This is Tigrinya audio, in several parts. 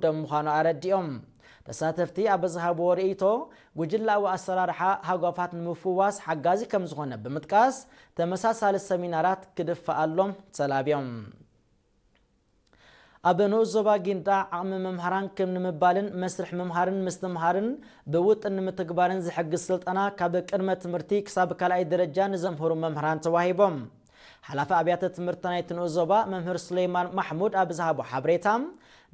ዝውደብ ምዃኑ ኣረዲኦም። ተሳተፍቲ ኣብ ዝሃብዎ ርእይቶ፣ ጉጅላዊ ኣሰራርሓ ሃጓፋት ንምፍዋስ ሓጋዚ ከም ዝኾነ ብምጥቃስ፣ ተመሳሳሊ ሰሚናራት ክድፈኣሎም ተላብዮም። ኣብ ንኡስ ዞባ ጊንዳዕ ዓቕሚ መምሃራን ክብ ንምባልን መስርሕ ምምሃርን ምስትምሃርን ብውጥን ንምትግባርን ዝሕግዝ ስልጠና ካብ ቅድመ ትምህርቲ ክሳብ ካልኣይ ደረጃ ንዘምህሩ መምህራን ተዋሂቦም። ሓላፊ ኣብያተ ትምህርቲ ናይቲ ንኡስ ዞባ መምህር ሱሌይማን ማሕሙድ ኣብ ዝሃቦ ሓበሬታ፣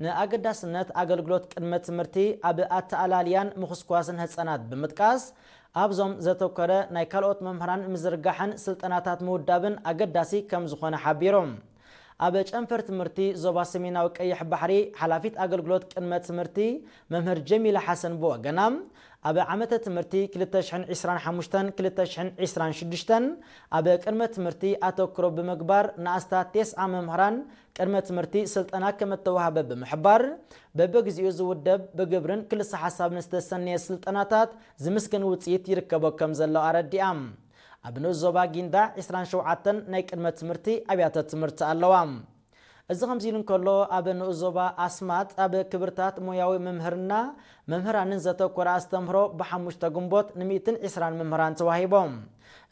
ንኣገዳስነት ኣገልግሎት ቅድመ ትምህርቲ ኣብ ኣተኣላልያን ምኹስኳስን ህጻናት ብምጥቃስ፣ ኣብዞም ዘተኮረ ናይ ካልኦት መምህራን ምዝርጋሕን ስልጠናታት ምውዳብን ኣገዳሲ ከም ዝኾነ ሓቢሮም። ኣብ ጨንፈር ትምህርቲ ዞባ ሰሜናዊ ቀይሕ ባሕሪ ሓላፊት ኣገልግሎት ቅድመ ትምህርቲ መምህር ጀሚላ ሓሰን ብወገና፣ ኣብ ዓመተ ትምህርቲ ክልተ ሽሕን ዕስራን ሓሙሽተን ክልተ ሽሕን ዕስራን ሽዱሽተን ኣብ ቅድመ ትምህርቲ ኣተኩሮ ብምግባር ንኣስታት ቴስዓ መምህራን ቅድመ ትምህርቲ ስልጠና ከም እተዋህበ ብምሕባር፣ በብግዚኡ ዝውደብ ብግብርን ክልሰ ሓሳብን ዝተሰነየ ስልጠናታት ዝምስገን ውፅኢት ይርከቦ ከም ዘሎ ኣረዲኣ። ኣብ ንኡስ ዞባ ጊንዳዕ ዕስራን ሸውዓተን ናይ ቅድመ ትምህርቲ ኣብያተ ትምህርቲ ኣለዋ። እዚ ከምዚ ኢሉ እንከሎ፣ ኣብ ንኡስ ዞባ ኣስማጥ ኣብ ክብርታት ሞያዊ ምምህርና መምህራንን ዘተኮረ ኣስተምህሮ ብሓሙሽተ ግንቦት ንሚእትን ዕስራን መምህራን ተዋሂቦም።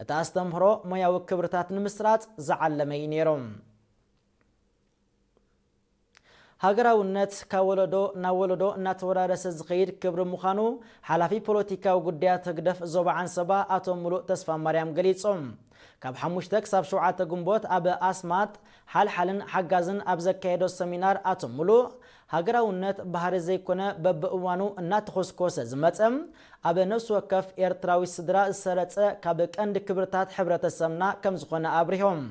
እቲ ኣስተምህሮ ሞያዊ ክብርታት ንምስራጽ ዝዓለመ እዩ ነይሩ። ሃገራውነት ካብ ወለዶ ናብ ወለዶ እናተወራረሰ ዝኸይድ ክብሪ ምዃኑ ሓላፊ ፖለቲካዊ ጉዳያት ህግደፍ ዞባ ዓንሰባ ኣቶ ሙሉእ ተስፋ ማርያም ገሊጾም። ካብ ሓሙሽተ ክሳብ ሸውዓተ ግንቦት ኣብ ኣስማጥ ሓልሓልን ሓጋዝን ኣብ ዘካየዶ ሰሚናር ኣቶ ሙሉእ፣ ሃገራውነት ባህሪ ዘይኮነ በብእዋኑ እናተኾስኮሰ ዝመጸ፣ ኣብ ነፍሲ ወከፍ ኤርትራዊ ስድራ ዝሰረጸ ካብ ቀንዲ ክብርታት ሕብረተሰብና ከም ዝኾነ ኣብሪሆም።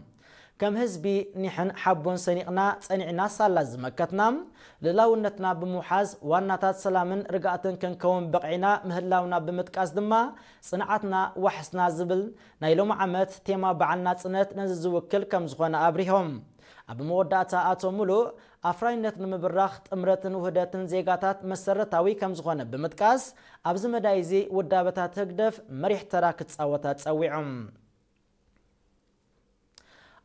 ከም ህዝቢ ኒሕን ሓቦን ሰኒቕና ጸኒዕና ሳላ ዝመከትና፣ ልእላውነትና ብምውሓዝ ዋናታት ሰላምን ርግኣትን ክንከውን በቒዕና ምህላውና ብምጥቃስ ድማ፣ ጽንዓትና ዋሕስና ዝብል ናይ ሎሚ ዓመት ቴማ በዓል ናጽነት ነዚ ዝውክል ከም ዝኾነ ኣብሪሆም። ኣብ መወዳእታ ኣቶ ሙሉእ፣ ኣፍራይነት ንምብራኽ ጥምረትን ውህደትን ዜጋታት መሰረታዊ ከም ዝኾነ ብምጥቃስ፣ ኣብዚ መዳይ እዚ ውዳበታት ህግደፍ መሪሕ ተራ ክጻወታ ጸዊዖም።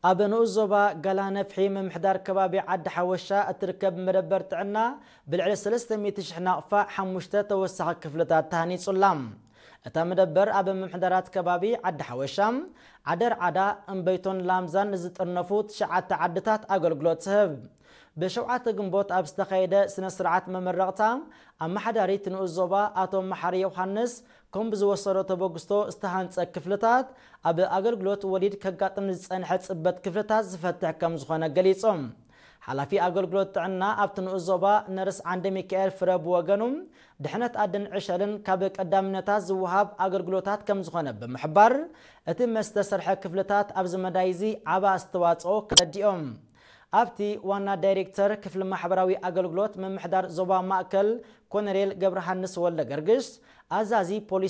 ኣብ ንኡስ ዞባ ጋላ ነፍሒ ምምሕዳር ከባቢ ዓዲ ሓወሻ እትርከብ መደበር ጥዕና ብልዕሊ ሰለስተ ሚእቲ ሽሕ ናቕፋ ሓሙሽተ ተወሳኺ ክፍልታት ተሃኒጹላ። እታ መደበር ኣብ ምምሕዳራት ከባቢ ዓዲ ሓወሻ፣ ዓደር ዓዳ፣ እምበይቶን ላምዛን ንዝጥርነፉ ትሽዓተ ዓድታት ኣገልግሎት ትህብ። ብሸውዓተ ግንቦት ኣብ ዝተኻየደ ስነ ስርዓት መመረቕታ፣ ኣመሓዳሪ እቲ ንኡስ ዞባ ኣቶ መሓሪ ዮሃንስ፣ ከም ብዝወሰዶ ተበግስቶ ዝተሃንጸ ክፍልታት ኣብ ኣገልግሎት ወሊድ ከጋጥም ዝጸንሐ ጽበት ክፍልታት ዝፈትሕ ከም ዝኾነ ገሊጾም። ሓላፊ ኣገልግሎት ጥዕና ኣብቲ ንኡስ ዞባ ነርስ ዓንደ ሚካኤል ፍረ ብወገኑ፣ ድሕነት ኣድን ዕሸልን ካብ ቀዳምነታት ዝወሃብ ኣገልግሎታት ከም ዝኾነ ብምሕባር፣ እቲ መስተሰርሐ ክፍልታት ኣብዚ መዳይ እዚ ዓቢ ኣስተዋጽኦ ከረዲኦም። ኣብቲ ዋና ዳይሬክተር ክፍሊ ማሕበራዊ ኣገልግሎት ምምሕዳር ዞባ ማእከል ኮነሬል ገብረሃንስ ወልደ ገርግሽ፣ ኣዛዚ ፖሊስ